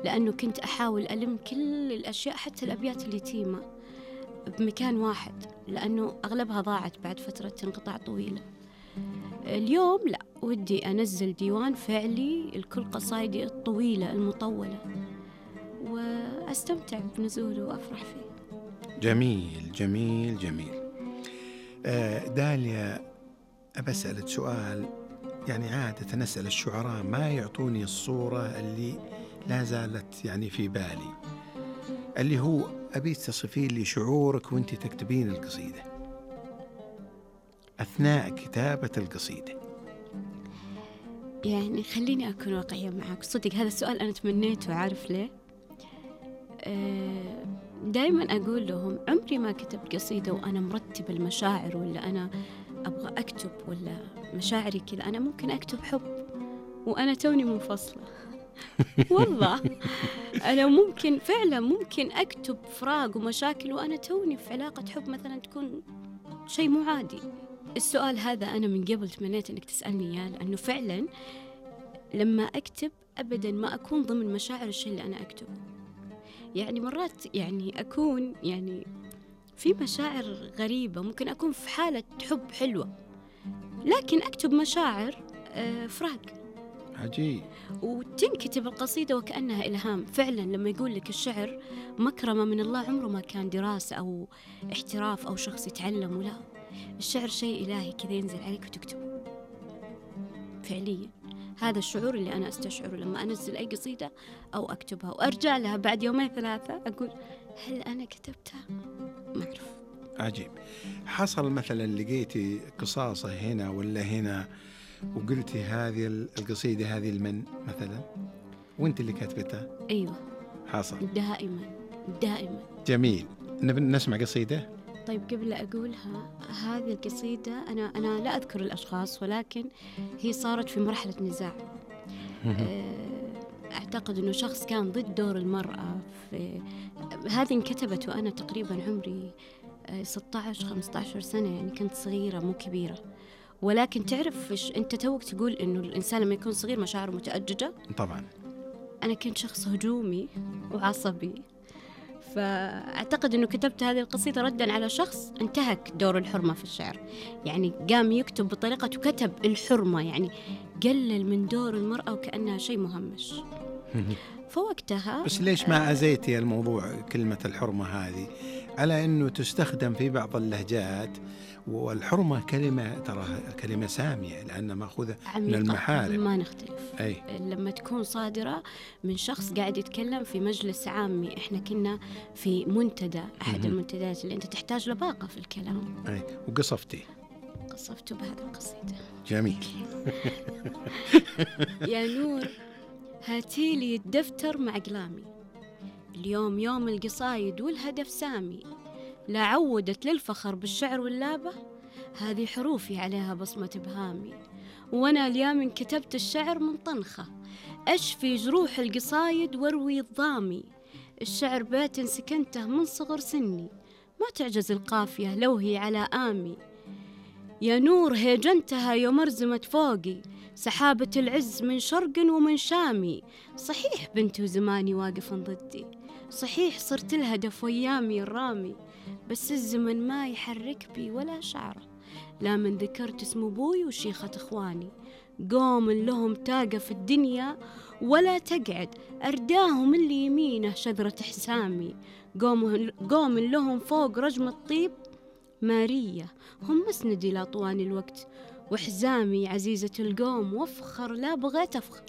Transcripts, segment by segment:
لأنه كنت أحاول ألم كل الأشياء حتى الأبيات اليتيمة بمكان واحد، لأنه أغلبها ضاعت بعد فترة انقطاع طويلة. اليوم لا، ودي أنزل ديوان فعلي لكل قصايدي الطويلة المطولة وأستمتع بنزوله وأفرح فيه. جميل جميل جميل. داليا، أبسألك سؤال، يعني عادة نسأل الشعراء ما يعطوني الصورة اللي لا زالت يعني في بالي، اللي هو أبي تصفين لي شعورك وانت تكتبين القصيدة أثناء كتابة القصيدة. يعني خليني أكون واقعية معك، صدق هذا السؤال أنا تمنيته، عارف ليه؟ دايما أقول لهم عمري ما كتبت قصيدة وأنا مرتب المشاعر، ولا أنا أبغى أكتب ولا مشاعري كذا. أنا ممكن أكتب حب وأنا توني منفصلة والله أنا ممكن فعلا ممكن أكتب فراق ومشاكل وأنا توني في علاقة حب مثلا تكون شيء مو عادي. السؤال هذا أنا من قبل تمنيت أنك تسألني إياه، لأنه فعلا لما أكتب أبدا ما أكون ضمن مشاعر الشيء اللي أنا أكتبه. يعني مرات يعني أكون يعني في مشاعر غريبة، ممكن أكون في حالة حب حلوة لكن أكتب مشاعر فراق. عجيب. وتنكتب القصيدة وكأنها إلهام. فعلا لما يقول لك الشعر مكرمة من الله، عمره ما كان دراسة أو احتراف أو شخص يتعلم، ولا الشعر شيء إلهي كذا ينزل عليك وتكتبه فعليا. هذا الشعور اللي أنا أستشعره لما أنزل أي قصيدة أو أكتبها وأرجع لها بعد يومين ثلاثة أقول هل أنا كتبتها؟ ما أعرف. عجيب. حصل مثلا لقيتي قصاصة هنا ولا هنا وقلتي هذه القصيدة هذه المن مثلا وانت اللي كتبتها؟ أيوة حصل دائما دائما. جميل. نسمع قصيدة. طيب قبل لا أقولها، هذه القصيدة أنا لا أذكر الأشخاص، ولكن هي صارت في مرحلة نزاع. أعتقد أنه شخص كان ضد دور المرأة في هذه. انكتبت وأنا تقريبا عمري 16-15 سنة، يعني كنت صغيرة مو كبيرة. ولكن تعرف أنت توك تقول أنه الإنسان لما يكون صغير مشاعره متأججة. طبعا أنا كنت شخص هجومي وعصبي، فأعتقد أنه كتبت هذه القصيدة رداً على شخص انتهك دور الحرمة في الشعر. يعني قام يكتب بطريقته كتب الحرمة، يعني قلل من دور المرأة وكأنها شيء مهمش. فوقتها بس ليش ما أزيتي الموضوع كلمة الحرمة هذه على أنه تستخدم في بعض اللهجات، والحرمة كلمة ترى كلمة سامية لأنها مأخوذة من المحارم. ما نختلف. لما تكون صادرة من شخص قاعد يتكلم في مجلس عامي، إحنا كنا في منتدى، أحد المنتديات اللي أنت تحتاج لباقة في الكلام. وقصفته بهذه القصيدة. جميل. يا نور هاتيلي الدفتر مع أقلامي، اليوم يوم القصايد والهدف سامي، لا عودت للفخر بالشعر واللابة، هذه حروفي عليها بصمة إبهامي، وأنا اليوم كتبت الشعر من طنخة، أشفي جروح القصايد واروي الضامي، الشعر بيت سكنته من صغر سني، ما تعجز القافية لو هي على آمي. يا نور هيجنتها يوم أرزمت فوقي، سحابة العز من شرق ومن شامي، صحيح بنت زماني واقف ضدي، صحيح صرت الهدف ويامي الرامي، بس الزمن ما يحرك بي ولا شعره، لا من ذكرت اسم أبوي وشيخة إخواني، قوم لهم تاقة في الدنيا ولا تقعد، أرداهم اللي يمينه شذرة حسامي، قوم لهم فوق رجم الطيب مارية، هم مسندي لأطوان الوقت، وحزامي عزيزة القوم وافخر لا بغيت أفخر،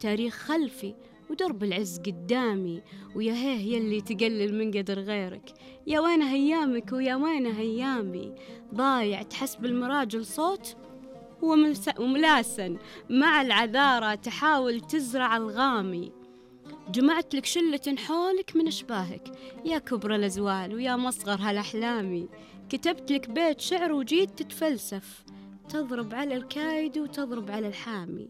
تاريخ خلفي ودرب العز قدامي، ويا هيه يلي تقلل من قدر غيرك، يا وين هيامك ويا وين هيامي، ضايع تحسب المراجل صوت وملاسن مع العذارة تحاول تزرع الغامي، جمعت لك شلة حولك من أشباهك، يا كبر الأزوال ويا مصغر هالأحلامي، كتبت لك بيت شعر وجيت تتفلسف، تضرب على الكايد وتضرب على الحامي،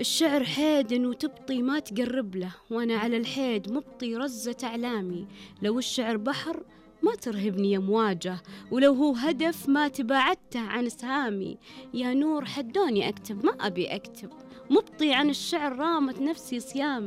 الشعر حيد وتبطي ما تقرب له، وأنا على الحيد مبطي رزة أعلامي، لو الشعر بحر ما ترهبني أمواجه، ولو هو هدف ما تباعدته عن سهامي، يا نور حدوني أكتب ما أبي أكتب، مبطي عن الشعر رامت نفسي صيامي.